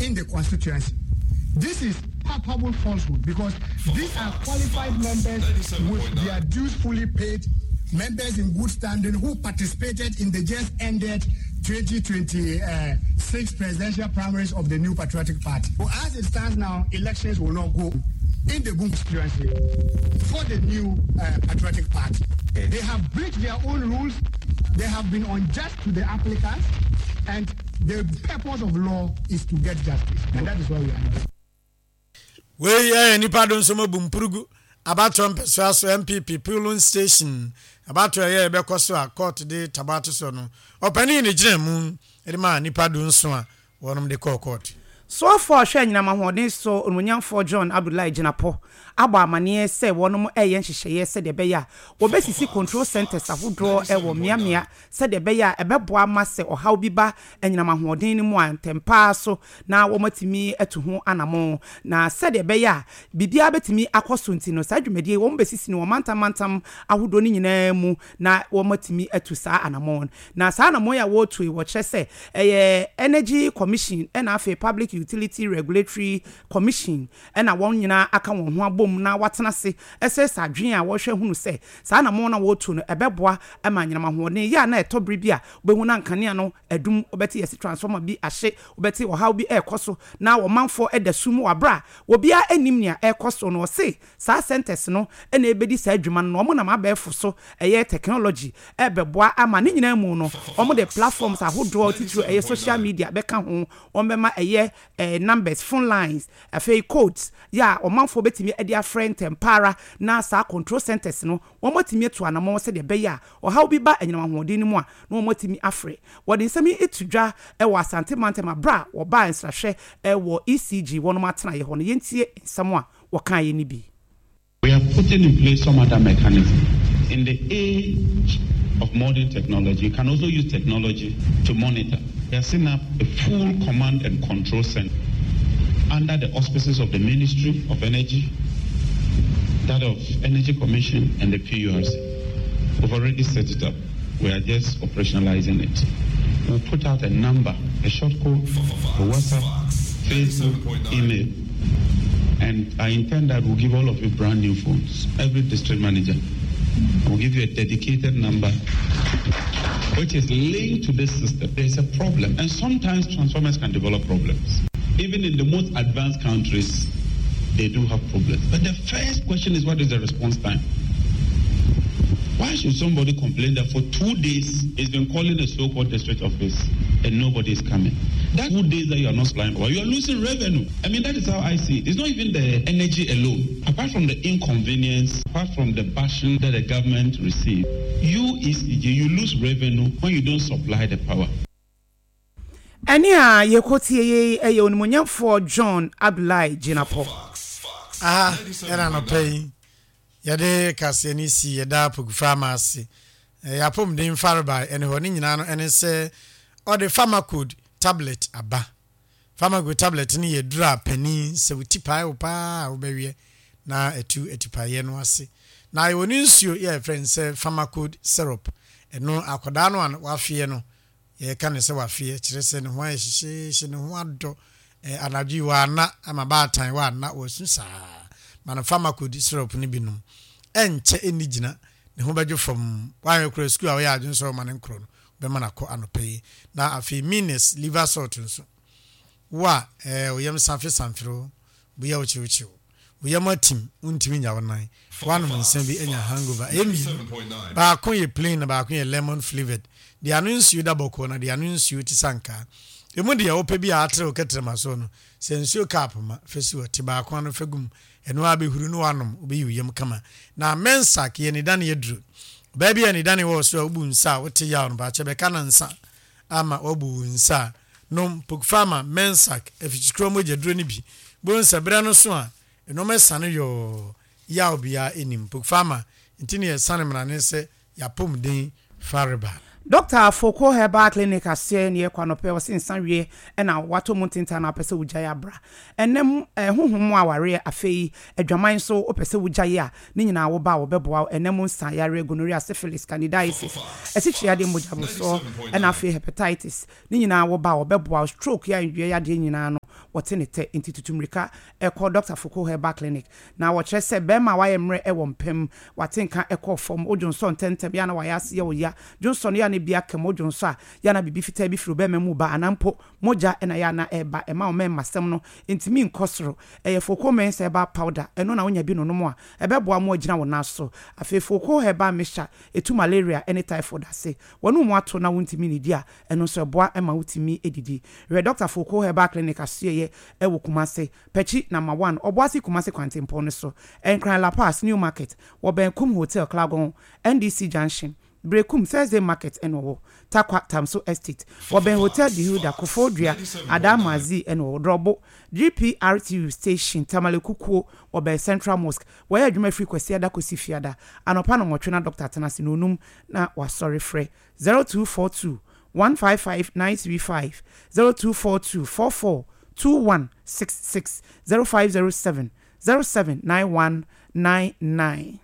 in the constituency. This is palpable falsehood because these are qualified members with their dues fully paid, members in good standing who participated in the just ended 2026 presidential primaries of the New Patriotic Party. So as it stands now, elections will not go in the Boom constituency for the New Patriotic Party. They have breached their own rules. They have been unjust to the applicants, and the purpose of law is to get justice, and that is why we are here. Wei yɛ nnipa donsom abu mpurugu abatoɔ mpɛsoa so NPP polling station abatoɔ ɛyɛ ɛbɛkɔ so a court de tabo ato soɔ no ɔpanin ne gyina mu de maa nnipa dunson a wɔnom de kɔɔ court. Soafoɔ a ɔhwɛ anyinam ahoɔden so Onimonyamfoɔ John Abdulai Jinapor abɔ amaneɛ sɛ wɔnom reyɛ nhyehyɛeɛ sɛdeɛ ɛbɛyɛ a wɔbɛsisi control centres ahodoɔ wɔ mmeammea sɛdeɛ ɛbɛyɛ a ɛbɛboa ama sɛ ɔhaw bi ba anyinam ahoɔden no mu a ntɛmpa ara so na wɔatumi atu ho anamon. Na sɛdeɛ ɛbɛyɛ a biribiara bɛtumi akɔ so nti no, saa dwumadie yi wɔbɛsisi no wɔ mantam mantam ahodoɔ no nyinaa mu na wɔatumi atu saa anamon. Na saa anamon yi a wɔretu yi wɔkyerɛ sɛ ɛyɛ Energy Commission ɛna afei Public Utility Regulatory Commission ɛna wɔn nyinaa aka wɔn ho abom na wɔatena ase ɛsrɛsrɛ adwene a wɔhwɛ hunu sɛ saa anamon no a wɔretu no ɛbɛboa ma anyinam ahoɔden yɛ a na ɛtɔ bere bi a wobɛhu na nkanea no adum, wobɛte yɛse transformer bi ahye, wobɛte ɔhaw bi ɛrekɔ so na ɔmanfoɔ da sum wɔ aberɛ a obiara nnim nea ɛrekɔ so no. Ɔse saa centres no na ɛbɛdi saa adwuma no na wɔn nam abɛɛfo so ɛyɛ technology ɛrebɛboa ama ne nyinaa mu no wɔn de platforms ahodoɔ titiriw ɛyɛ social media bɛka ho, wɔn bɛma ɛyɛ numbers, phone lines, afei codes yɛ a ɔmanfoɔ bɛtumi de afrɛ ntɛmpa ara na saa control centres no Wɔatumi atu anammɔn sɛdeɛ ɛbɛyɛ a ɔhaw bi ba anyinam ahoɔden no mu a, na wɔatumi afrɛ. Wɔde nsɛm yi to dwa wɔ Asante mantam aberɛ a wɔbaa nsrahwɛ wɔ ECG wɔnom atenaeɛ hɔ no. Yɛntie nsɛm a wɔkaeɛ no bi. We are putting in place some other mechanism. In the age of modern technology, you can also use technology to monitor. We are setting up a full command and control center under the auspices of the Ministry of Energy, that of Energy Commission and the PURC. We've already set it up. We are just operationalizing it. We'll put out a number, a short code, a WhatsApp, Facebook, email. And I intend that we'll give all of you brand new phones, every district manager. We'll give you a dedicated number which is linked to this system. There's a problem. And sometimes transformers can develop problems. Even in the most advanced countries, they do have problems. But the first question is what is the response time? Why should somebody complain that for two days he's been calling the so-called district office and nobody is coming? That two days that you are not supplying power, you are losing revenue. I mean, that is how I see it. It's not even the energy alone. Apart from the inconvenience, apart from the bashing that the government receives, you ECG, you lose revenue when you don't supply the power. Ɛnne a yɛrekɔtie yi yɛ Onimuonyamfoɔ John Abdullahi Jinapor. Aha ɛna anɔpa yi yɛde kaseɛ no si yɛda Pokufa ama ase. Yɛn apɔmuden farebae ɛne hɔ ne nyinaa no ɛne sɛ ɔde Pharmacode tablet aba. Pharmacode tablet no yɛ aduru a panin sɛ wo ti pae wo paa a wobɛweɛ na atu atipaeɛ no ase. Na yɛwɔ ne nsuo yɛ a yɛfrɛ no sɛ Pharmacode syrup. Ɛno akwadaa no a wafeɛ no Yɛka no sɛ wafeɛ, kyerɛ sɛ ne ho ayɛ hyehyeehye, ne ho adɔ. Eh, anadwo yi wanna ama baatan wanna, wasu saa. Ma no Pharmacode syrup no bi nom. Ɛnkyɛ ɛnni gyina, ne ho bɛdwo fam. Woanhwɛ koraa sukuu a woyɛ adwene sɛ woma no nkorɔ no, wobɛma no akɔ anɔpa yi. Na afei Mines liver salt nso. Wo a, eh, wo yam safe samfere wo, bo yɛ wo kyewkyew. Wo yam atim, wontumi nnya wo nan. Woanom nsa bi anya hangover. Ɛyɛ mmienu. Baako yɛ plain na baako yɛ lemon flavoured. Deɛ ano nsuo da bɔkɔɔ na deɛ ano nsuo te sɛ ankaa. Emu deɛ wopɛ bi a atere wo kɛtrɛma soɔ no, sɛ nsuo cup ma, fa si hɔ. Te baako ano fa gu mu. Ɛno ara bɛhuru na woanom, wobɛyi wo yam kama. Na Mensak yɛ anidane aduro. Ɔbaa bi a anidane wɔ wo so a wobu nsa a wote yaw no, baakyɛ bɛka no nsa ama woabu wo nsa a, nom Pokpharma Mensak afikyikura mogya duro no bi. Bohu sɛ berɛ no so a, nnoɔma asiane yɔɔ, yaw biara nnim. Pokpharma nti na yɛsane mmrane sɛ y'apɔmuden fareba. Dɔkta Foko Herbal Clinic aseɛ ne yɛkɔ anɔpɛ ɔse nsa wie na watɔ mu ntentan na wopɛ sɛ wogyae abra ɛnɛ mu honhom mu awareɛ afei adwaman nso wopɛ sɛ wogyae a ne nyinaa woba a wɔbɛboa wo ɛnɛ mu nsa yareɛ gonorrhea syphilis candidiasis asikyire yadeɛ mogya borosoɔ ɛna afei hepatitis ne nyinaa woba a wɔbɛboa wo stroke yɛ a nnuɛ yadeɛ nyinaa no. wɔte ne tɛ. Nti tutu mmirika kɔ Dɔkta Foko Herbal Clinic. Na wɔkyerɛ sɛ bɛrima a wayɛ mmerɛ wɔ mpa mu, wate nka kɔ fam, wodwonsɔ ntɛmntɛm, yɛ a na wayɛ ase yɛ wo ya, dwonsɔ no yɛ a na ebi aka mu, wodwonsɔ a yɛ a na biribi fitaa bi firi wo bɛrima mu reba anaa mpo mogya na ɛyɛ a na ɛreba, ɛma wo mmarima-sɛm no ntumi nkɔ soro. Ɛyɛ Foko Men's Herbal Powder, ɛno na wonya bi nonom a, ɛbɛboa mo agyina wo nan so. Afei Foko Herbal Mixture, ɛtu malaria ne typhoid ase. Wɔne wo ato na wontumi nnidi a, ɛno nso ɛboa ma wotumi didi. Hwɛ Dɔkta Foko Herbal Clinic asoɛeɛ wɔ Kumase, Pakyi Number One, Ɔboase Kumase kwantempɔn no so, Nkran La Paz, New Market, wɔbɛn Kum Hotel, Klagon, NDC Junction, Berekum, Thursday Market na ɔwɔ, Tarkwa, Tamso Estate, wɔbɛn Hotel De Hilda, Koforidua, Adaa Maazii na ɔwɔ, Drɔbo, GPRTU Station, Tamale Kukuo, wɔbɛn Central Mosque. Wɔyɛ adwuma firi Kwasiada kɔsi Fiada, anɔpa nnɔnwɔtwe na dɔkta atena ase, nnɔnnum na wasɔre. Frɛ 0242 155 935, 0242 44 2166, 0507 079199.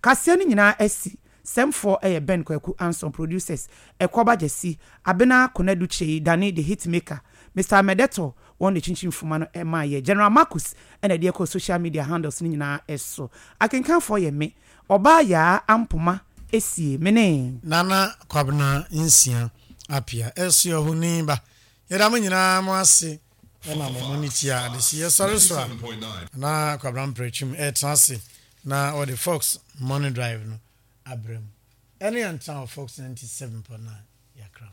Kaseɛ no nyinaa asi. Sɛmfoɔ yɛ Ben Kwaku Anson, Producers, Ɛkɔba Gyasi, Abena Konadu Kyei, Danny the Hitmaker, Mister Amedeto, wɔn na ɛkyinkyim mfuma no maa yɛ. General Marcus na ɛde ɛkɔɔ social media handles no nyinaa so. Akenkanfoɔ yɛ me, Ɔbaa Yaa Ampoma Esie, me ne. Nana Kwabena Nsia Appiah, Ɛsoɛhoni ba. Yɛda mo nyinaa mo ase na mo mo ne tia adehye. Yɛsɔre so a, na Kwabena Mprɛtwum ɛretena ase na wɔde Fox Morning Drive no abrɛ mu. Ɛne yɛn ntena wɔ Fox 97.9 Yakram.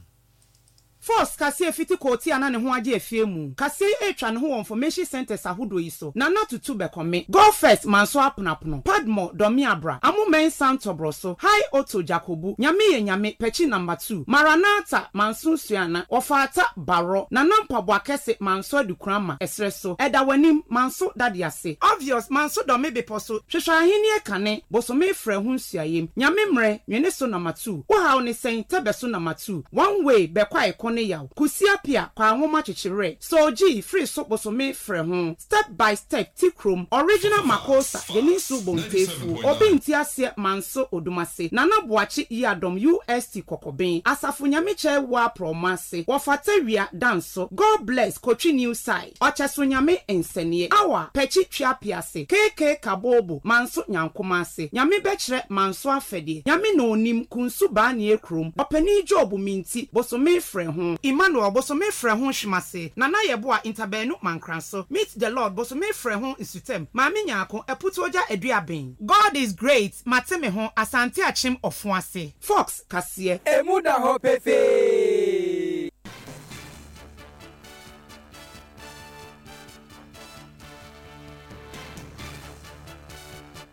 Fox kaseɛ fiti koote a na ne ho agye afie mu kaseɛ yi retwa ne ho wɔ nfɔmehyin sɛntɛs ahodoɔ yi so, Nana Tutu Bɛkɔme, Go First Manso Aponapono, Padmore Dɔme Abra, Amo Mensah Ntɔbrɔso, High Otto Jakobu, Nyame Yɛ Nyame, Pɛkyi Number 2, Maranatha Manso Nsuana, Wɔfaata Barɔ, Nana Mpaboa Kɛse Manso Adukurama, Ɛserɛ So, Ɛda W'anim, Manso Dade Ase, Obvious Manso Dɔme Bepɔ So, Hwehwɛ Ahennie Kane, Bosome Frɛ Ho Nsuayem, Nyame Mmerɛ, Nwene So Number 2, Wo Haw Ne Sɛn, Tɛbɛ So Number 2, One Way, Bɛkɔ A Ɛko Ne Yaw, Kusi Apia, Kwaa Nwoma Kyekye Werɛ, Soul G, Firi So Bosome Frɛ Ho, Step by Step, Ti Krom, Original Makosa, Geninsu Bontefuo, Obi Nte Aseɛ Manso Odumase, Nana Boakye Yiadom UST Kɔkɔben, Asafo Nyame Kyɛe Woa Prɔmo Ase, Wɔfata Wia Danso, God Bless Kotwi New Side, Ɔkyɛso Nyame Nsɛneɛ, Awa, Pɛkyi Twea Piase, KK Kabobo, Manso Nyankoma Ase, Nyame Bɛkyerɛ Manso Afɛdeɛ, Nyame Na Onim, Kunsu Baanie Krom, Ɔpanin Job Minti, Bosome Frɛ Ho, Emmanuel, Bosome Frɛ Ho Hwemase, Nana Yeboah Ntabaanu Mankranso, Meet the Lord, Bosome Frɛ Ho Nsutam, Maame Nyarko, Aputuogya Aduaben. God is great, Mate me ho, Asante Akyem Ɔfoase. Fox kaseɛ. Emu da hɔ pefee.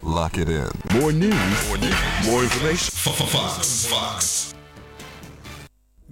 Lock it in. More news, more news, more information. Fox. Fox.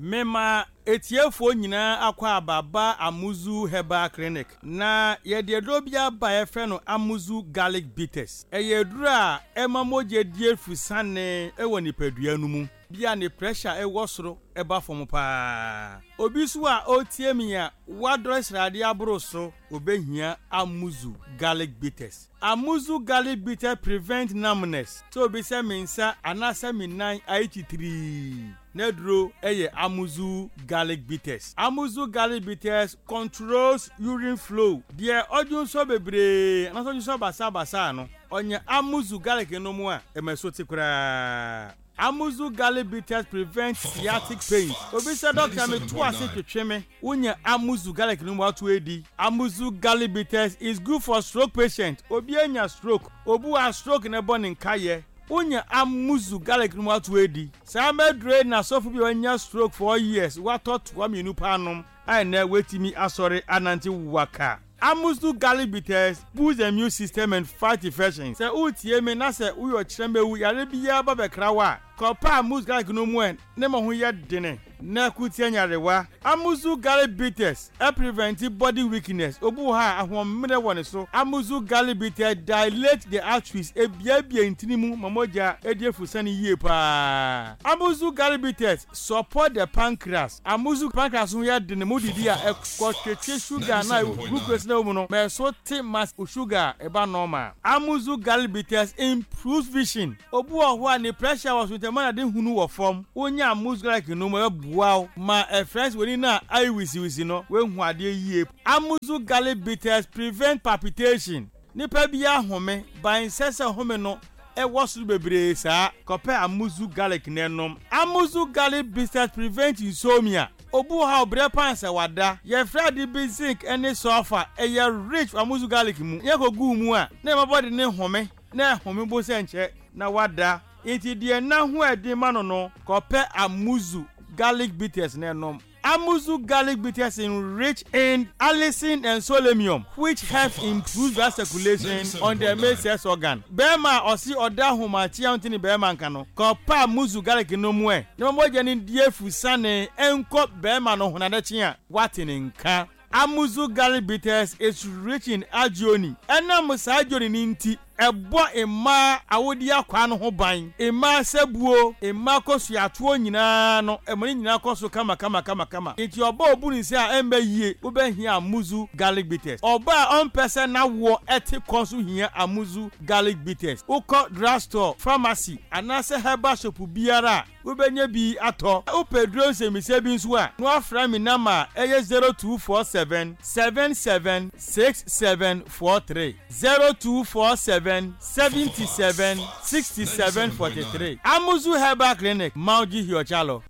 Mema etiefoɔ nyinaa akwaaba ba Amuzu Herbal Clinic. Na yɛde aduro bi aba a yɛfrɛ no Amuzu Garlic Bitters. Ɛyɛ aduro a ɛma mogya di afusane wɔ nipadua no mu. Bi a ne pressure wɔ soro ba fam paa. Obi nso a ɔretie me a wadɔre sradeɛ aboro so, ɔbɛhia Amuzu Garlic Bitters. Amuzu Garlic Bitters prevent numbness, sɛ obi sɛ me nsa anaasɛ me nan ayɛ titirii, n'aduro yɛ Amuzu Garlic Bitters. Amuzu Garlic Bitters controls urine flow, deɛ ɔdwonsɔ bebree anaasɛ ɔdwonsɔ basaabasaa no, ɔnya Amuzu Garlic nom a, ɛma ɛso te koraa. Amuzu garlic bitters prevent sciatic pains. Obi sɛ dɔkta me to ase twetwe me. Wo nya Amuzu garlic no mu ato edi. Amuzu garlic bitters is good for stroke patient. Obi anya stroke, obi wɔ a stroke na ɛbɔ ne nkayɛ. Wo nya Amuzu garlic no mu ato edi. Saa mɛduro yi na sɔfo bi a wanya stroke for years watɔ toa mienu paa nom a ɛnɛ watumi asɔre anante waka. Amuzu garlic bitters boost the immune system and fight infections. Sɛ woretie me na sɛ woyɛ ɔkyerɛmɛwu, yare biara ba bɛkra wo a, kɔpɛ Amuzu garlic no mu ɛ ne ma ho yɛ dene na ko tia nyarewa. Amuzu garlic bitters prevent body weakness, obi wɔ hɔ a ahoɔmmerɛ wɔ ne so. Amuzu garlic bitters dilate the arteries, ebiabia ntini mu ma mogya di afusane yie paa. Amuzu garlic bitters Support the pancreas, Amuzu pancreas ho yɛ den mu didi a ɛkɔ twetwe sugar na glucose na ɛwɔ mu no ma ɛso te ma wo sugar a ɛba normal. Amuzu garlic bitters improves vision, Obi wɔ hɔ a ne pressure wɔ so nti ɛma n'ade hunu wɔ fam, wonya amuzu garlic nom a ɛbɛboa. Ɛboa wo ma ɛfrɛ sɛ w'ani no a ayɛ wisiwisi no woahu adeɛ yie. Amuzu garlic bitters prevent palpitation. Nipa biara home, but ɛnsɛ sɛ home no wɔ soro bebree saa. Kɔpɛ Amuzu garlic na nom. Amuzu garlic bitters prevent insomnia. Obi wɔ hɔ a ɔbrɛ paa sɛ wada. Yɛfrɛ ade bi zinc ne sulfur, ɛyɛ rich wɔ Amuzu garlic mu. Yɛkɔgu wo mu a, na ɛma body no home, na ɛhome bo sɛ nkyɛ na wada. Enti deɛ nna ho ɛden ma no no, kɔpɛ Amuzu garlic bitters na nom. Amuzu garlic bitters enrich in allicin and solenium which helps improve blood circulation on the male sex organ. Bɛɛma a ɔse ɔda ahomakye a ɔnte ne bɛɛma nka no, kɔpɛ Amuzu garlic nom ɛ na ma mogya no ndi afu sane nkɔ bɛɛma no ho na adekye a, woate ne nka. Amuzu garlic bitters is rich in arginine. Ɛnam saa arginine no nti, ɛbɔ mmaa awodeɛ akwaa no ho ban. Mmaa sabuo, mmaa kɔsuatoɔ nyinaa no, ɛma ne nyinaa kɔ so kamakamakamakama. Nti ɔbaa a ɔbu ne nsa a ɛmma yie, wobɛhia Amuzu garlic bitters. Ɔbaa a ɔmpɛ sɛ n'awoɔ te kɔ nso hia Amuzu garlic bitters. Wokɔ drugstore, pharmacy anaasɛ herbal shop biara a, Wobɛnya bi atɔ. Wopɛ aduro nsɛmmisa bi nso a, na woafrɛ me nɔma a ɛyɛ 0247 77 6743, 0247 77 67 43. Amuzu Herbal Clinic, Mauji Hiochalo.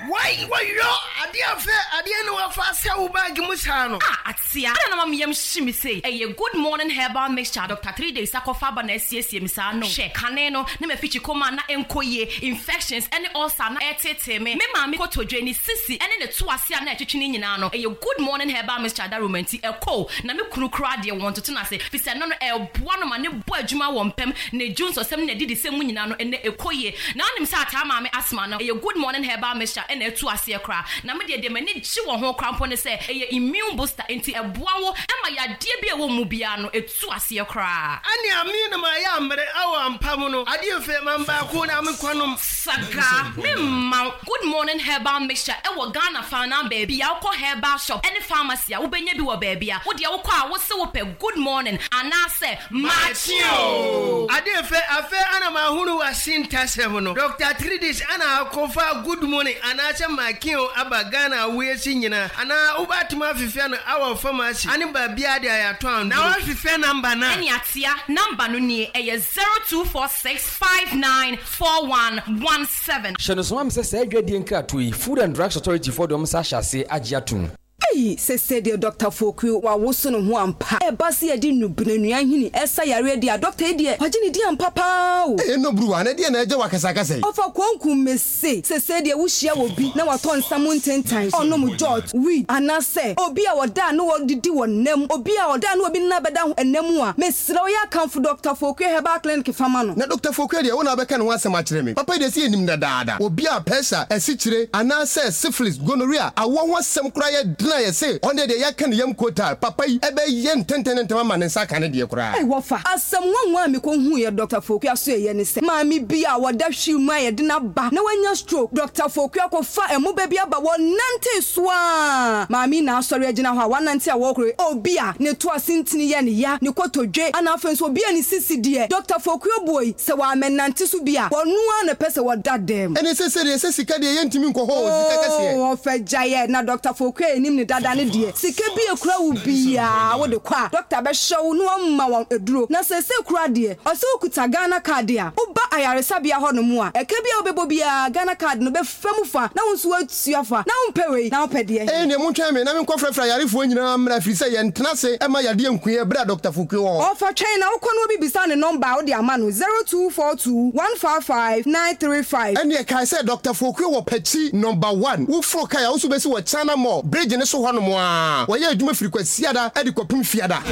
Wai wɔyɔ adeɛ afɛ adeɛ ne wafa asɛ wo bag mu saa no. Ah atea adɛn na ama me yam hye me sei ɛyɛ good morning herbal mixture a Doctor Threedays akɔfa aba na asiesie me saa no hwɛ kane no na mafikyi kɔma a na ɛnkɔ yie infections ɛne ulcer a na ɛreteetee me me maame kotodwe ne sisi ɛne ne to ase a na ɛtwetwe ne nyinaa no ɛyɛ good morning herbal mixture adaworoma nti ɛkɔ o na me kunu koraa deɛ wɔntoto no ase fisɛ ɛno no ɛboa no ma ne bɔ adwuma wɔ mpam ne dwonsɔsɛm ne n'adidisɛm mu nyinaa no ɛnɛ ɛkɔ yie Na wonim sɛ ataa maame asthma no, ɛyɛ good morning herbal mixture ɛna atu aseɛ koraa. Na me deɛ deɛ m'ani gye wɔ ho koraa mpo ne sɛ ɛyɛ immune booster nti ɛboa wo ma yadeɛ bi a ɛwɔ wo mu biara no ɛtu aseɛ koraa. Ɛne ame na mayɛ amere awɔ ampa mu no adeɛ fɛ mam baako na me kɔ nom. Sagaa, me mma wo good morning herbal mixture ɛwɔ Ghana faanaa baabi a wokɔ herbal shop ɛne pharmacy a wobɛnya bi wɔ baabi a wodeɛ wokɔ a wose wopɛ good morning anaasɛ Makye oo! Ade fɛ, afei ana mahunu w'asintasɛm no. Doctor Tridis ana akɔfa good morning anaasɛ makye oo aba Ghana awiase nyinaa anaa wobɛatumi afefɛ no awɔ pharmacy ane baabiaa de ayatɔ anduro. Na wafefɛ number no a? Ɛne atea, number no nie, ɛyɛ 0246594117. Hyɛ no nso ma me sɛ saa adwadie nkratoɔ yi, Food and Drugs Authority foɔ de wɔn nsa ahyɛ aseɛ agye atom. Ei sese deɛ Doctor Foku wawoso ne ho ampa. Ɛba se yɛde nnubena nnua nhini ɛsa yareɛ deɛ a Doctor yi deɛ wagye ne din ampa paa o. Ei ɛnɔ bruwa na ɛdeɛn na ɛgya wo akasakasa yi. Ɔfa konku mese sese deɛ wo hyia obi na watɔ nsa mu ntentan, ɔnom jot, weed, anasɛ obi a ɔda a na ɔdidi wɔ nna mu, obi a ɔda a na obi nna bɛda ho nna mu a, mesrɛ wo yɛ akamfo Doctor Foku Herbal Clinic fa ma no. Na Doctor Foku deɛ wo na wobɛka ne ho asɛm akyerɛ me. Papa yi deɛ sɛ yɛnim no dadaada. Obi a pɛsa, asikyire, anaasɛ syphilis, gonorrhea, awoɔ ho asɛm koraa yɛ den a yɛse ɔno deɛ yɛaka ne yam kotaa. Papa yi bɛyɛ ntɛntɛn ne ntɛm ama ne nsa aka ne deɛ koraa. Ei wɔfa! Asɛm nwanwa a mekɔhuuiɛ Dɔkta Foku asoɛeɛ ne sɛ, maame bi a ɔda wheel mu a yɛde no aba na wanya stroke, Dɔkta Foku akɔfa ɛmoba bi aba, wɔnantee so ara, maame yi na asɔre agyina hɔ a wanante a wɔrekɔ yi, obi a ne to ase ntini yɛ no ya, ne kotodwe, ana afei nso obi a ne sisi deɛ, Dɔkta Foku abuo yi, Sɛ wɔammɛnante so bi a, wɔno ara na ɛpɛ sɛ wɔda dɛm. Ɛne sese deɛ sɛ sika deɛ yɛntumi nkɔ hɔ o, sika kɛseɛ. Oo ɔfɛ gyaeɛ na Dɔkta Foku a yɛnim no dada no deɛ, sika bi a ɛkura wo biara wode kɔ a, dɔkta bɛhwɛ wo na wama wo aduro. Na seesei koraa deɛ, ɔsɛ wokuta Ghana card a, woba ayaresabea hɔnom a, ɛka bi a wobɛbɔ biara Ghana card no bɛfa mu fa na wo nso woatua fa. Na wompɛ wei na wopɛ deɛ he? Ɛnneɛ montwɛn me na menkɔfrɛfrɛ ayarefoɔ nyinaa mmra, ɛfiri sɛ yɛntena ase mma yadeɛ nku yɛn berɛ a Dɔkta Foku wɔ hɔ. Ɔfa twɛn na wokɔ na obi bisa ne nɔmba a wode ama no, 0242 155 935. Ɛnneɛ kae sɛ Dɔkta Foku wɔ Pakyi Nɔmba One. Woforo kae a, wo nso wobɛsi wɔ China Mall bridge no so hɔnom ara. Wɔyɛ adwuma firi Kwasiada de kɔpem Fiada.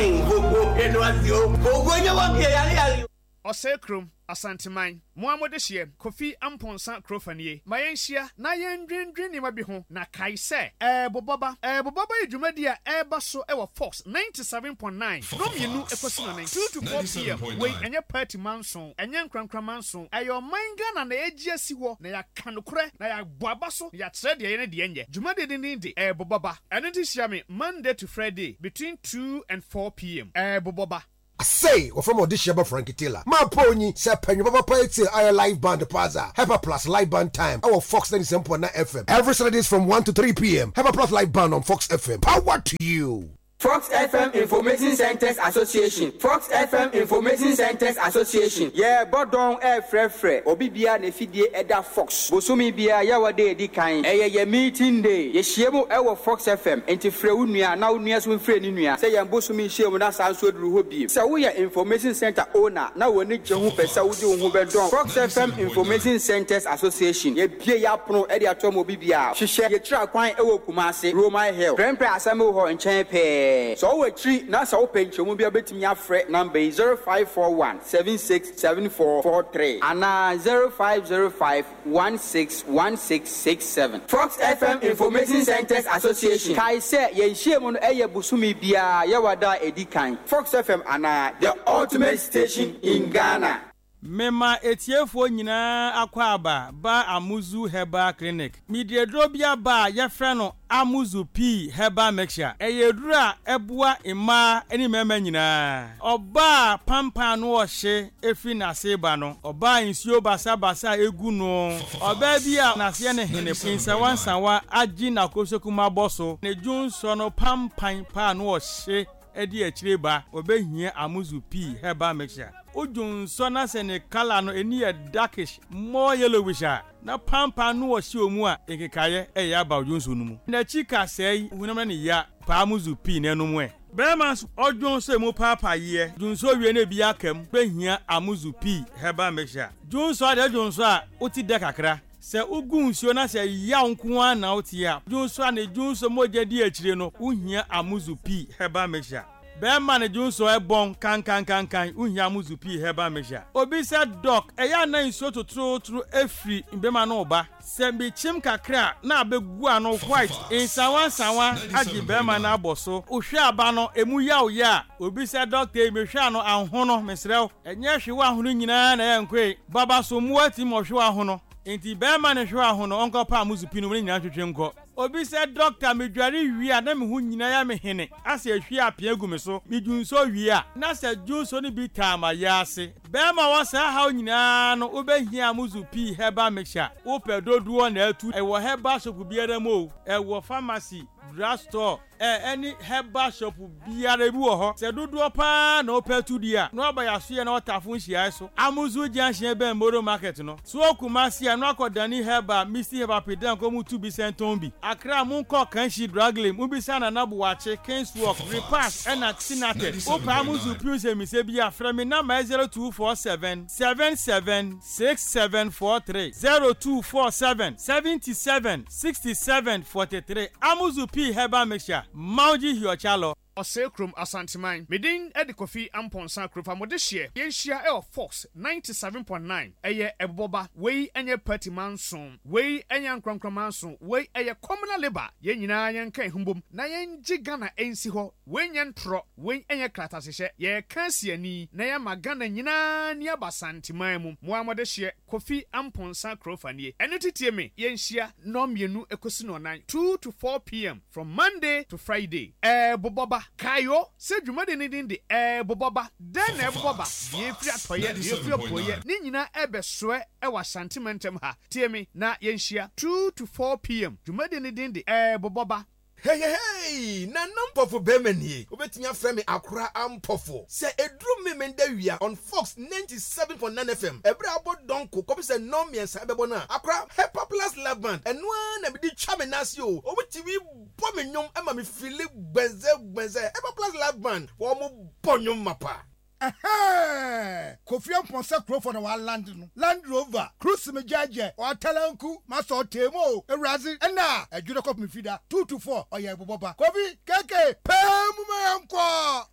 Ɔsɛe kurom, Asanteman, mo ara mo dehyeɛ, Kofi Amponsah Kurofanie, ma yɛnhyia na yɛndwendwen nneɛma bi ho na kae sɛ, Ɛɛbobɔba, Ɛɛbobɔba yɛ dwumadi a ɛreba so wɔ Fox 97.9, nnɔnmienu kɔsi nnɔnan, 2 to 4 PM, Wei ɛnyɛ party manso, ɛnyɛ nkorankora manso, ɛyɛ ɔman Ghana na yɛagye asi hɔ na yɛaka nokorɛ na yɛabɔ aba so na yɛakyerɛ deɛ ɛyɛ ne deɛ ɛnyɛ. Dwumadie no din de Ɛɛbobɔba. Ɛno nti hyia me Monday to Friday between 2 and 4 PM. Ɛɛbobɔba. Asei, wɔfrɛ me Ɔdehyeɛba Frankie Taylor. Mapɔ onyi sɛ pɛ nnwom papapa etsie ayɛ live band paa dze a, Hepa Plus Live Band Time wɔ Fox 97.9 FM every Saturdays from 1 to 3 pm. Hepa Plus Live Band on Fox FM. Power to you! Fox FM Information Centres Association Fox FM Information Centres Association. Yɛrebɔ dɔn refrɛfrɛ obi biara n'afidie ɛda Fox. Bosome biara Yawa da a ɛdi kan, ɛyɛ yɛn meeting day. Yɛhyia mu wɔ Fox FM, enti frɛ wo nua na wo nua nso mfrɛ ne nua sɛ yɛn bosome nhyiamu no asan nso aduru hɔ bio. Sɛ woyɛ Information Centre owner na w'ani gye ho pɛ sɛ wode wo ho bɛdɔm Fox FM Information Centres Association, yɛabue yɛn apono de ato ama obi biara. Hwehwɛ yɛn akyiri akwan wɔ Kumasi, Roman Hill, Prempeh Assembly Hall nkyɛn pɛɛ. Sɛ wowɔ akyiri na sɛ wopɛ nkyerɛmu bi a wobɛtumi afrɛ number yi, 0541 76 7443 anaa 0505 161667. Fox FM Information Centres Association kae sɛ yɛn nhyiam no yɛ bosome biara Yawada a edi kan. Fox FM anaa The Ultimate Station in Ghana. Mema etiefoɔ nyinaa akwaaba ba Amuzu Herbal Clinic. Mede aduro bi aba a yɛfrɛ no Amuzu Pii Herbal Mixture. Ɛyɛ aduro a ɛboa mmaa ne mmarima nyinaa. Ɔbaa a pampan ano ɔhye firi n'ase reba no, ɔbaa a nsuo basabasa gu no, ɔbaa bi a n'aseɛ ne hene nsawansawa agye n'akosoku abɔ so, ne dwonsɔ no pampan pa ano ɔhye di akyire ba, ɔbɛhia Amuzu Pii Herbal Mixture. Wo dwonsɔ na sɛ ne colour no ani yɛ darkish, more yellowish a, Na pampan no wɔ hyew mu a nkekaeɛ ɛyɛ aba odwonso no mu. N'akyi kasɛe honam na ne ya paa mu zu pii na ɛnom ɛ. Bɛrima nso ɔdwonso emu paapaeɛ dwonso wie na ebi aka mu bɛhia amuzu pii herbal mixture. Dwonso adeɛ dwonso a wote dɛ kakra. Sɛ wogu nsuo na sɛ yaw nko ara na wote a, dwonso a ne dwonso mogya di akyire no wohia amuzu pii herbal mixture. Bɛɛma ne dwonsɔ ɛbɔn kankankankan wohia mo zu pii herbal mixture. Obi sɛ doc ɛyɛ a na nsuo totorotoro ɛfiri mbɛma no ba sɛ mekyim kakra a na abɛgu ano white nsawa nsawa agye bɛɛma no abɔ so wohwɛ aba no ɛmu yaw yɛ a obi sɛ doctor ei mehwɛ ano ahono mesrɛ wo ɛnyɛ hwe woahono nyinaa na ɛyɛ nkoe baba so mmoa tumi ma ɔhwe woahono nti bɛɛma ne hwe woahono ɔnkɔ pa mo zu pii no mu ne nyinaa ntwetwe nkɔ. Obi sɛ dɔkta medware wie a na me ho nyina yɛ me hene asɛ ehwie apea gu me so, me dwunsɔ wie a na sɛ dwunsɔ no bi taa ma yaase. Bɛɛma wɔ saa haw nyinaa no wo bɛ hia Amuzu pii herbal mixture, wo pɛ dodoɔ na atu, ɛwɔ herbal shop biara mu o, ɛwɔ pharmacy, drug store, ɛ ɛne herbal shop biara ebi wɔ hɔ. Sɛ dodoɔ paa na wopɛ atu deɛ a, na waba Yasoyɛ na Ɔtafo nhyiaeɛ so, Amuzu junction bɛn Moro market no. So wɔ Kumasi a, na wakɔ Dani Herbal, Misty Herbal Pedan kɔ mu tu bi sɛn tɔn bi. Accra monkɔ Kanshi Drug Lane mobisa Nana Boakye, Kings Walk, Repass ɛna Tinated. Wopɛ Amuzu pii nsɛmmisa bi a, frɛ me number yɛ 0247 77 6743, 0247 77 67 43. Amuzu pii Herbal Mixture, Mauji Hiochalɔ. Ɔsɛe Kurom, Asanteman. Me din de Kofi Amponsah Kurofa. Mo dehyeɛ, yɛnhyia wɔ Fox 97.9. Ɛyɛ ɛbobɔba. Wei nyɛ party manso. Wei nyɛ ankorankora manso. Wei ɛyɛ communal labour. Yɛn nyinaa yɛnka yɛn ho mbom na yɛngye Ghana nsi hɔ. Wei nyɛ ntorɔ. Wei nyɛ kratahyehyɛ. Yɛreka asi ani na yɛama Ghana nyinaa ani aba Asanteman mu. Mo ara mo dehyeɛ, Kofi Amponsah Kurofa nie. Ɛno nti tie me, yɛnhyia nnɔnmienu kɔsi nnɔnnan, 2 to 4 PM. From Monday to Friday, Ɛrebobɔ ba. Kae o, sɛ dwumadi no din de Ɛrebobɔ Ba. Dɛn na ɛbobɔ ba? Deɛ ɛfiri atɔeɛ, deɛ ɛfiri apueeɛ, ne nyinaa ɛrebɛsoɛ wɔ Ashanti mantam ha. Tie me na yɛnhyia, 2 to 4 PM. Dwumadi no din de Ɛrebobɔ Ba. Heyehey! Nana Mpɔfo bɛɛma nie. Wobɛtumi afrɛ me Akora Ampɔfo. Sɛ ɛduru Memenda wia on Fox 97.9 FM, ɛberɛ a abɔ dɔnko kɔpem sɛ nnɔn mmiɛnsa ɛbɛbɔ no a, Akora Hepa Plus Love Band, ɛno ara na mede twa me nan ase o. Wɔn tumi bɔ me nnwom ma me feeli gbɛnzɛ gbɛnzɛ. Hepa Plus Live Band, wɔn bɔ nnwom mapa. Ɛhɛɛ! Kofi Amponsah Kurofo na ɔaland no, Land Rover, Cruise me gyɛɛgyɛ, ɔatalanku, masɔ ɔtee mu o, Ewuradze, nna a ɛdwo dɛ kɔpem Fida, 2 to 4, ɔyɛ ebobɔba. Kofi, KK, pɛɛ mu ma yɛnkɔ!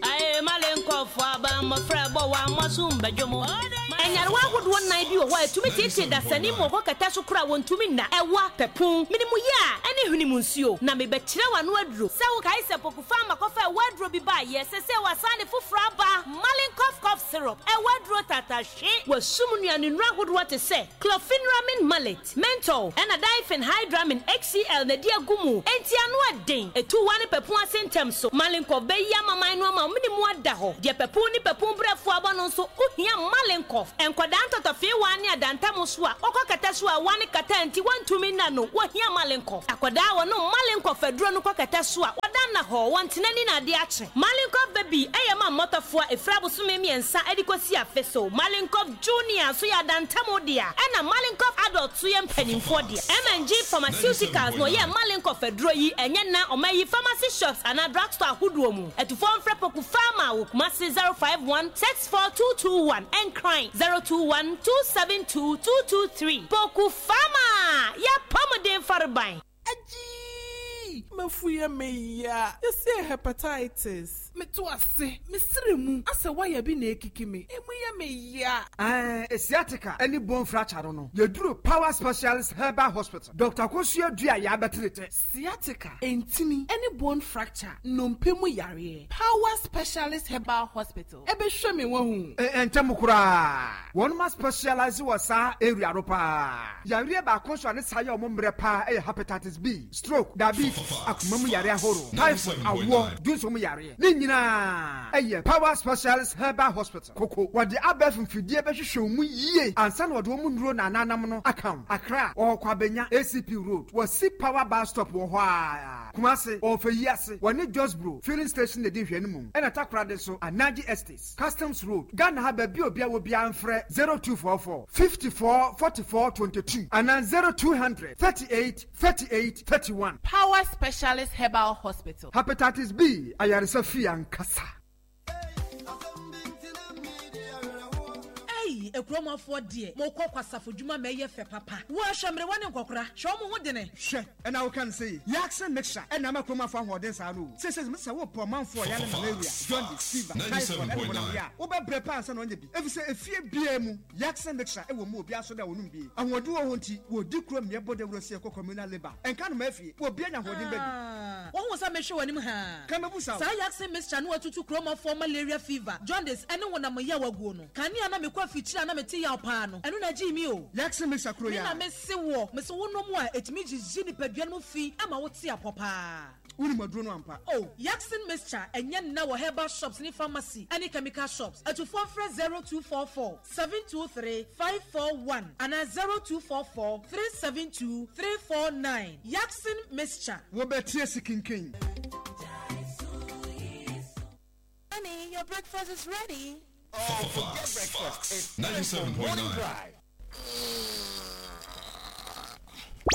Ae, male nkɔfoɔ aba, mmɔfra ɛbɔ wa, mmɔso mbɛdwo mo. Nyarewa ahodoɔ nnan bi wɔ hɔ a ɛtumi teetee dasani ma ɔkɔ kɛtɛ so koraa a wɔntumi nna, ɛwa, pɛpon, menemuyɛ a ɛne hwenem nsuo. Na mebɛkyerɛ wo ano aduro. Sɛ wokae sɛ Poku Pharma kɔfa ɛwa aduro bi baeɛ, sɛsei wɔasan de foforɔ aba, Malincov Cough Syrup, ɛwa aduro tatahwe. Wɔasum nnuanennuro ahodoɔ te sɛ Chlorpheniramine Maleate, Menthol, ɛna Diphenhydramine HCl na ɛde agu mu, enti ano ɛden. Ɛtu wa ne pɛpon ase ntɛm so. Malincov bɛyi amaman no ama wo mene mu ada hɔ. Deɛ pɛpon ne pɛpon brɛfoɔ abɔ no nso, wohia Malincov. Nkwadaa ntɔtɔfeewa ne adantam so a wɔkɔ kɛtɛ so a ɛwa ne kata nti wɔntumi nna no, wɔhia Malincov. Akwadaa a wɔnom Malincov aduro no kɔ kɛtɛ so a, wɔda nna hɔ, wɔntena ani na adeɛ akye. Malincov Baby yɛ ma mmɔtɔfoɔ a ɛfiri abosome mmiɛnsa de kɔsi afe so. Malincov Junior nso yɛ adantam dea, ɛna Malincov Adult nso yɛ mpanimfoɔ dea. M&G Pharmaceuticals na ɔyɛɛ Malincov aduro yi, ɛnyɛ nna ɔma yi pharmacy shops anaa drugstore ahodoɔ mu. Atufoɔ mfrɛ Poku Pharma wɔ Kumasi 051 64221, Nkran 021 272 223. Poku Pharma! Y'apɔmuden fareban! Agyii! M'afu yɛ me ya. Yɛse hepatitis. Meto ase, me sere mu asɛ wire bi na ekiki me, emu yɛ me ya. Ɛɛ sciatica ne bone fracture no no, yɛduru Power Specialist Herbal Hospital, Doctor Akosua Dua Yɛabɛtere tɛ. Sciatica, ntini, ne bone fracture, nnompe mu yareɛ, Power Specialist Herbal Hospital. Ɛbɛhwɛ me wahu. Ntɛm koraa. Wɔnom a specialise wɔ saa area no paa. Yareɛ baako nso a ne saa yɛ wɔn mmerɛ paa yɛ hepatitis B, stroke, diabetes, akoma mu yareɛ ahorow, typhoid, awoɔ, dwonsɔ mu yareɛ. Ne nyinaa yɛ Power Specialist Herbal Hospital, Koko. Wɔde abɛɛfo mfidie bɛhwehwɛ wo mu yie ansa na wɔde wɔn nnuro na ananam no aka wo. Accra, wɔwɔ Kwabenya, ACP Road, wɔsi Power Bus Stop wɔ hɔ ara. Kumasi, wɔ Ɔfɛyi ase, wɔne Josbro Filling Station na edi nhwɛanimu, ɛna Takoradi nso, Anaji Estates, Customs Road, Ghana ha baabi a obiara wɔ biara mfrɛ 0244 54 44 22 anaa 0200 38 38 31. Power Specialist Herbal Hospital. Hepatitis B ayaresa fie ankasa. Ei akuromafoɔ deɛ mokɔ kwasafo dwuma ma ɛyɛ fɛ papa. Wo a hwɛ mmerewa ne nkɔkora hwɛ wɔn ho dene. Hwɛ ɛna woka no sei Yaksen mixture ɛna ama kurom afo ahoɔden saa no o. Seisei mese sɛ wopɛ ɔmanfoɔ a ɔyare malaria, jaundice, fever, typhoid ɛne honam yea a wobɛbrɛ paa ansa na wanya bi efisɛ efie biara mu Yaksen mixture ɛwɔ mu obiara nso dɛ ɔnom bi. Ahoɔden wɔ hɔ nti wɔdi kurom mmea bɔ dawuro sɛ yɛkɔ communal labour ɛnka nnomaa fie obiara nya ahoɔden ba bi. Ah, wohu sɛ mehwɛ w'anim haa. Ka mɛbu sa o. Saa Yaksen mixture no atutu kuromafoɔ malaria fever, jaundice ɛne honam yaw aguo no. Kane a na mekɔ afikyire a na mete yaw paa no, ɛno na ɛgyee me o. Yaksen mixture koro Me yi na ara. mese woɔ, mese wonom a ɛtumi gyigye nipadua no mu fi ma wote apɔ paa. Wonim aduro no ampa? Oh, Yaksen mixture ɛnyɛ nna wɔ herbal shops ne pharmacy ɛne chemical shops. Atufoɔ mfrɛ 0244 723 541 anaa 0244 372 349. Yaksen mixture. Wobɛte asi kinkin. Honey, your breakfast is ready. Oh, forget breakfast. It's time for morning drive.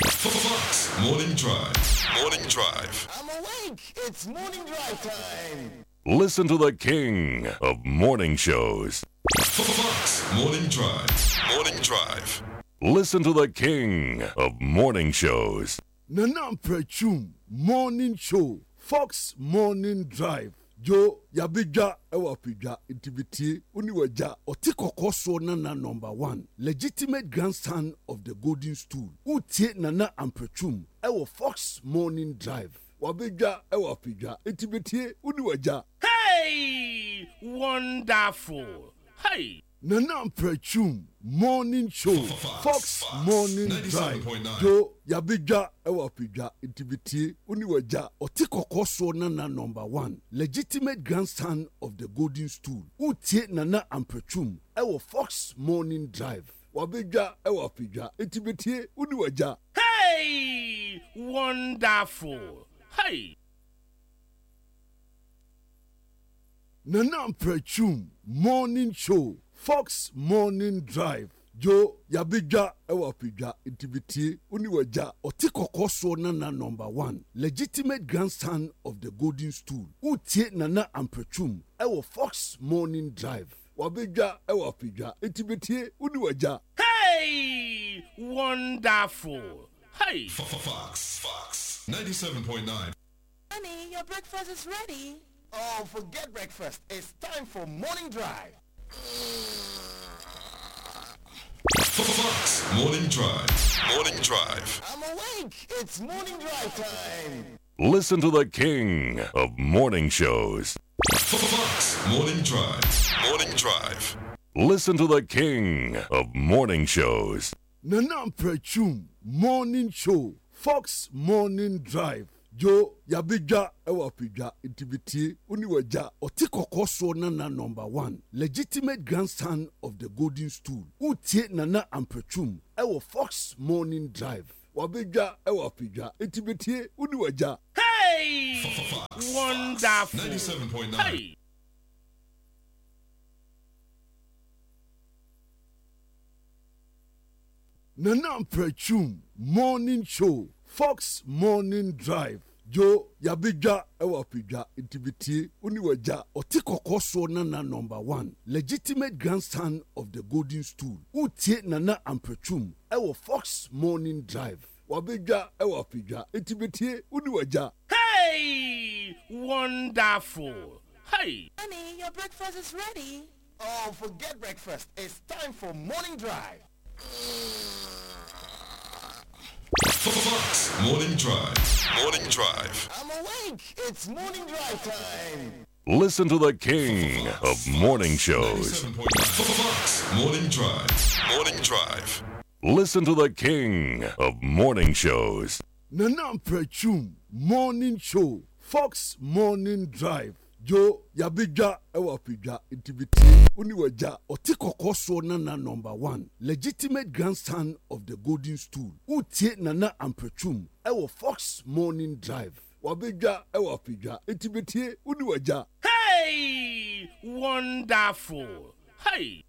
Fox Morning Drive. Morning Drive. I'm awake. It's morning drive time. Listen to the king of morning shows. Fox Morning Drive. Morning Drive. Listen to the king of morning shows. Nana Mprɛtwum Morning Show, Fox Morning Drive, Joe yabedwa wɔ apedwa nti betie wo ne w'agya ɔte kɔkɔɔ soɔ Nana number one legitimate grandson of the golden stool woretie Nana Amprɛtwum wɔ Fox Morning Drive wabedwa wɔ apedwa nti betie wo ne w'agya. Hey! Wonderful! Hey! Nana Mprɛtwum Morning Show, Fox Morning Drive, Joe yabedwa wɔ apedwa nti betie wo ne w'agya ɔte kɔkɔɔ soɔ Nana number one legitimate grandson of the golden stool woretie Nana Amprɛtwum wɔ Fox Morning Drive wabedwa wɔ apedwa nti betie wo ne w'agya. Hey! Wonderful! Hey! Nana Mprɛtwum Morning Show, Fox Morning Drive, Joe yabedwa wɔ apedwa nti betie wo ne w'agya ɔte kɔkɔɔ soɔ Nana number one legitimate grandson of the golden stool woretie Nana Amprɛtwum wɔ Fox Morning Drive wabedwa wɔ apedwa nti betie wo ne w'agya. Hey! Wonderful! Hey! Fox, Fox, 97.9. Honey, your breakfast is ready. Oh, forget breakfast. It's time for morning drive. Fox Morning Drive. Morning Drive. I'm awake. It's morning drive time. Listen to the king of morning shows. Fox Morning Drive. Morning Drive. Listen to the king of morning shows. Nana Mprɛtwum Morning Show, Fox Morning Drive, Joe yabedwa wɔ apedwa nti betie wo ne w'agya ɔte kɔkɔɔ soɔ Nana number one legitimate grandson of the golden stool wotie Nana Amprɛtwum wɔ Fox Morning Drive wabedwa wɔ apedwa nti betie wo ne w'agya. Hey! Wonderful! Hey! Nana Mprɛtwum Morning Show, Fox Morning Drive, Joe yabedwa wɔ apedwa nti betie wo ne w'agya ɔte kɔkɔɔ soɔ Nana number one legitimate grandson of the golden stool wotie Nana Amprɛtwum wɔ Fox Morning Drive wabedwa wɔ apedwa nti betie wo ne w'agya. Hey! Wonderful! Hey! Honey, your breakfast is ready. Oh, forget breakfast. It's time for morning drive. Fox Morning Drive. Morning Drive. I'm awake. It's morning drive time. Listen to the king of morning shows. Fox Morning Drive. Morning Drive. Listen to the king of morning shows. Nana Mprɛtwum Morning Show, Fox Morning Drive, Joe yabedwa wɔ apedwa nti betie wo ne w'agya ɔte kɔkɔɔ soɔ Nana number one legitimate grandson of the golden stool wotie Nana Amprɛtwum wɔ Fox Morning Drive wabedwa wɔ apedwa nti betie wo ne w'agya. Hey! Wonderful! Hey!